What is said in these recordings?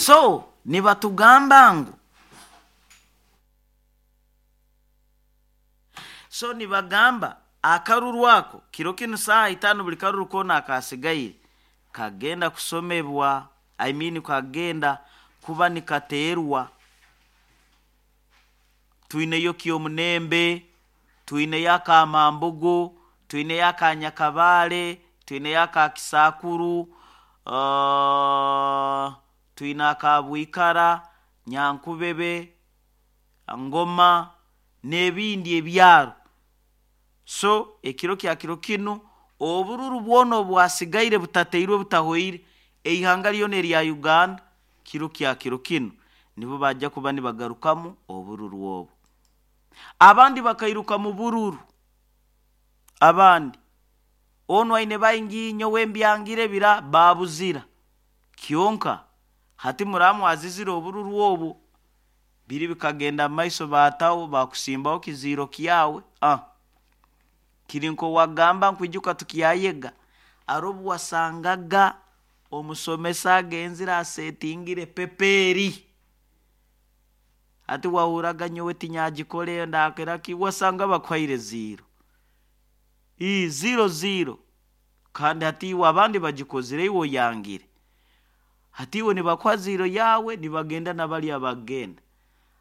So nibatugamba ngu, so nibagamba akaruru ako kiro kinu saaha 5 buli karuru koona akasigaire kagenda kusomebwa, I mean kagenda kuba nikateerwa. Twineyo Kyomunembe, twineyo Akamambugu, twineyo Akanyakabaale, twineyo Akakisakuru, twine Akabwikara, Nyankubebe, Ngoma n'ebindi ebyaro. So ekiro kya kiro kinu obururu bwona obwasigaire butateirwe butahoire eihanga lyona erya Uganda, kiro kya kiro kinu nibo bajja kuba nibagarukamu obururu obu. Abandi bakairuka mu bururu, abandi onu aine baingi nyowe mbyangire bira babuzira, kyonka hati muramwazizire obururu obu biri bikagenda maiso baataho bakusimbaho kiziiro kyawe. Kiri nk'owagamba nkwijuka tukyayega ari obu wasangaga omusomesa agenzire asetingire pepeeri, hati wahuraga nyowe tinyagikora ndakera ki, wasanga bakuhaire 0 ii 0 0, kandi hati iwe abandi bagikozire iwe oyangire, hati iwe nibakuha 0 yawe nibagenda nabali abagenda.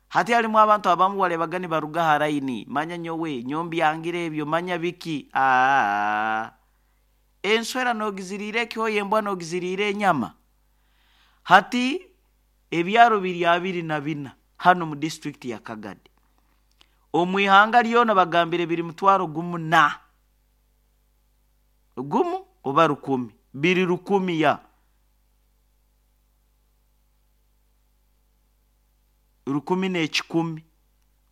Hati harimu abantu abamu warebaga nibaruga ha layini, manya nyowe nyombyangire ebyo manya biki, enswera nogiziriire ekyoya, embwa nogiziriire enyama. Hati ebyaro biri 24 hano mu disitulikiti ya Kagadi, omu ihanga lyona bagambire biri mutwaro gumu na gumu oba 1000, biri 1000 ya 1001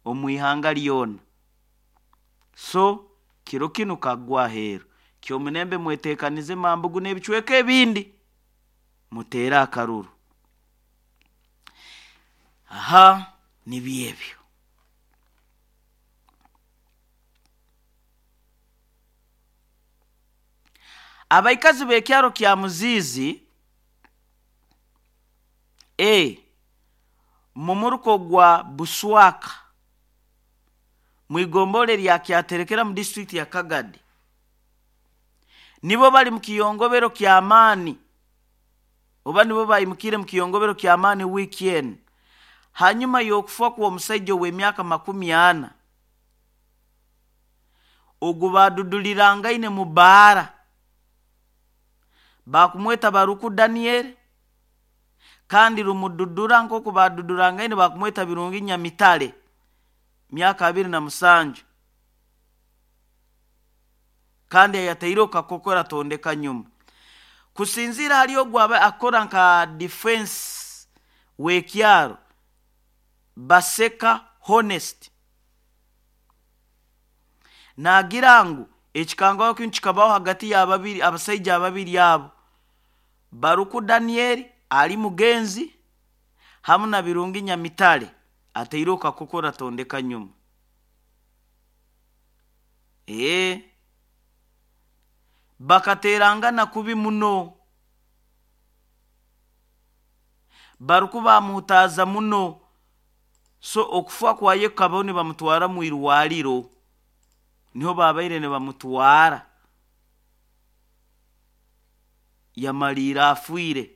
omu ihanga lyona. So kiro kinu kagwa aheeru, Kyomunembe mweteekanize Mambugu n'ebicweka ebindi muteere akaruru. Aha nibyo ebyo. Abaikazi b'ekyaro kya Muziizi mumuruko gwa Buswaka mwigombole lya Kyaterekera mu disitulikiti ya Kagadi nibo bali mu kiyongobero ky'amaani, oba nibo bayimukire mu kiyongobero ky'amaani wiiki enu hanyuma y'okufa kw'omusaija ow'emyaka 40 ogu badudulirangaine mu baara, bakumweta Baruku Daniel, kandi rumududura nk'oku badudurangaine bakumweta Birungi Nyamitale, myaka 27, kandi ayataireho kakokora tondeka nyuma. Kusinziira hali ogu aba akora nka defense w'ekyaro Baseka Honest, naagira ngu ekikangaho kinu kikabaho hagati y'ababiri abasaija ababiri abo, Baruku Daniel ali mugenzi hamu na Birungi Nyamitale ataireho kakokora tondeka nyuma. Bakaterangana kubi muno, Baruku bamuhutaaza muno, so okufa kwaye kukabaho nibamutwara mu irwariro, niho babaire nibamutwara, yamaliire afiire.